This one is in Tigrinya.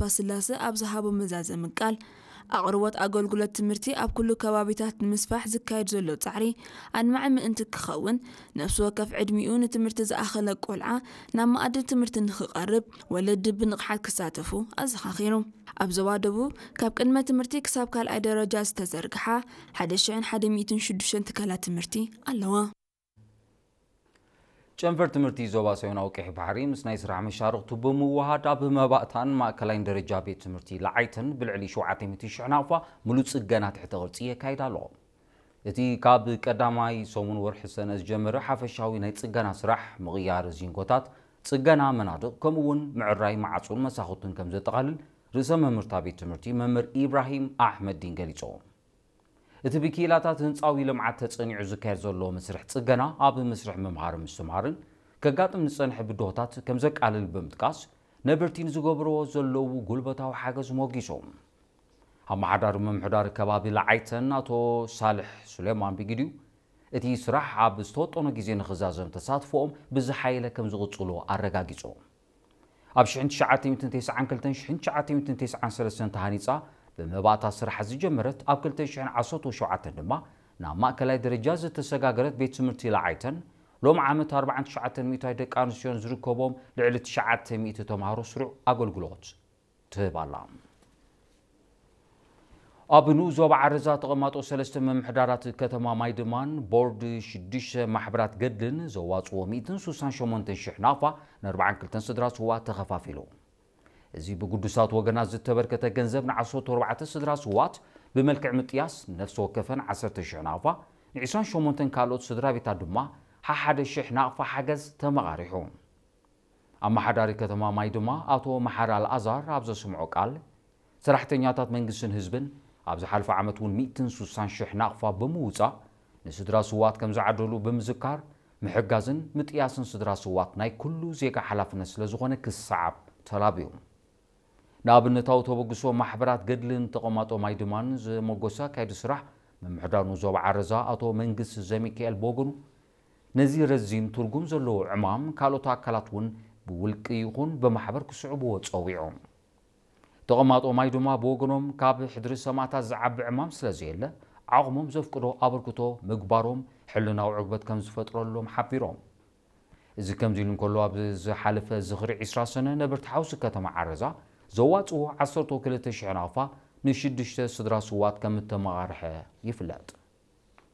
ተስፋስላሰ ኣብ ዝሃቦ መዛዘሚ ቃል፣ ኣቕርቦት ኣገልግሎት ትምህርቲ ኣብ ኩሉ ከባቢታት ንምስፋሕ ዝካየድ ዘሎ ጻዕሪ ኣድማዒ ምእንቲ ክኸውን፣ ነፍሲ ወከፍ ዕድሚኡ ንትምህርቲ ዝኣኸለ ቆልዓ ናብ መኣዲ ትምህርቲ ንኽቐርብ ወለዲ ብንቕሓት ክሳተፉ ኣዘኻኺሩ። ኣብ ዞባ ደቡብ ካብ ቅድመ ትምህርቲ ክሳብ ካልኣይ ደረጃ ዝተዘርግሓ ሓደ ሽሕን ሓደ ሚእትን ሽዱሽተን ትካላት ትምህርቲ ኣለዋ። ጨንፈር ትምህርቲ ዞባ ሰሜናዊ ቀይሕ ባሕሪ ምስ ናይ ስራሕ መሻርኽቱ ብምውሃድ ኣብ መባእታን ማእከላይን ደረጃ ቤት ትምህርቲ ለዓይተን ብልዕሊ ሸውዓተ ሚእቲ ሽሕ ናቕፋ ሙሉእ ጽገና ትሕተ ቅርጺ የካይድ ኣሎ። እቲ ካብ ቀዳማይ ሰሙን ወርሒ ሰነ ዝጀመረ ሓፈሻዊ ናይ ጽገና ስራሕ ምቕያር ዚንጎታት፣ ጽገና መናድቕ ከምኡ እውን ምዕራይ መዓጹን መሳኹትን ከም ዘጠቓልል ርእሰ መምህርታ ቤት ትምህርቲ መምህር ኢብራሂም ኣሕመዲን ገሊጾም። እቲ ብክኢላታት ህንፃዊ ልምዓት ተፀኒዑ ዝካየድ ዘሎ መስርሕ ፅገና ኣብ መስርሕ ምምሃር ምስትምሃርን ከጋጥም ዝፀንሐ ብድሆታት ከም ዘቃልል ብምጥቃስ ነበርቲ ንዝገብርዎ ዘለዉ ጉልበታዊ ሓገዝ ሞጊሶም። ኣመሓዳሪ ምምሕዳር ከባቢ ለዓይተን ኣቶ ሳልሕ ሱሌማን ብግዲኡ እቲ ስራሕ ኣብ ዝተወጠኖ ግዜ ንኽዛዘም ተሳትፎኦም ብዝሓየለ ከም ዝቕፅሉ ኣረጋጊጾም። ኣብ ሽሕን ትሽዓተ ሚእትን ተስዓን ክልተን ሽሕን ትሽዓተ ሚእትን ተስዓን ሰለስተን ተሃኒጻ ብመባእታ ስራሕ ዝጀመረት ኣብ ክልተ ሽሕን ዓሰርተ ሸውዓተን ድማ ናብ ማእከላይ ደረጃ ዝተሰጋገረት ቤት ትምህርቲ ለዓይተን ሎም ዓመት ኣርባዓን ትሽዓተን ሚእታዊ ደቂ ኣንስትዮን ዝርከቦም ልዕሊ ትሽዓተ ሚእቲ ተምሃሮ ስሩዕ ኣገልግሎት ትህብ ኣላ። ኣብ ንኡስ ዞባ ዓረዛ ተቐማጦ ሰለስተ ምምሕዳራት ከተማ ማይድማን ቦርድ ሽዱሽተ ማሕበራት ገድልን ዘዋፅዎ ሚእትን ስሳን ሸሞንተን ሽሕ ናቕፋ ንኣርባዓን ክልተን ስድራ ስውኣት ተኸፋፊሉ። እዚ ብግዱሳት ወገናት ዝተበርከተ ገንዘብ ንዓሰርተ ኣርባዕተ ስድራ ስውኣት ብመልክዕ ምጥያስ ነፍሲ ወከፈን ዓሰርተ ሽሕ ናቕፋ፣ ንዒስራን ሸሞንተን ካልኦት ስድራ ቤታት ድማ ሓሓደ ሽሕ ናቕፋ ሓገዝ ተመቓሪሑ። ኣመሓዳሪ ከተማ ማይድማ ኣቶ መሓሪ ኣልኣዛር ኣብ ዘስምዖ ቃል፣ ሰራሕተኛታት መንግስትን ህዝብን ኣብ ዝሓለፈ ዓመት እውን ሚእትን ስሳን ሽሕ ናቕፋ ብምውፃእ ንስድራ ስውኣት ከም ዝዓደሉ ብምዝካር፣ ምሕጋዝን ምጥያስን ስድራ ስውኣት ናይ ኩሉ ዜጋ ሓላፍነት ስለዝኾነ ክሰዓብ ተላብዩ። ንኣብነታዊ ተበግሶ ማሕበራት ገድልን ተቐማጦ ማይድማን ዘመጎሰ ኣካየዲ ስራሕ ምምሕዳር ንኡስ ዞባ ዓረዛ ኣቶ መንግስቲ ዘሚካኤል ብወገኑ፣ ነዚ ረዚን ትርጉም ዘለዎ ዕማም ካልኦት ኣካላት እውን ብውልቂ ይኹን ብማሕበር ክስዕብዎ ጸዊዑ። ተቐማጦ ማይድማ ብወገኖም፣ ካብ ሕድሪ ሰማእታት ዝዓቢ ዕማም ስለዘየለ ዓቕሞም ዘፍቅዶ ኣበርክቶ ምግባሮም ሕልናዊ ዕግበት ከም ዝፈጥረሎም ሓቢሮም። እዚ ከምዚ ኢሉ እንከሎ፣ ኣብ ዝሓለፈ ዝኽሪ ዒስራ ሰነ ነበርቲ ሓውሲ ከተማ ዓረዛ ዘዋፅዎ ዓሰርተ ክልተ ሽሕ ናቕፋ ንሽዱሽተ ስድራ ስውኣት ከም እተመቓርሐ ይፍለጥ።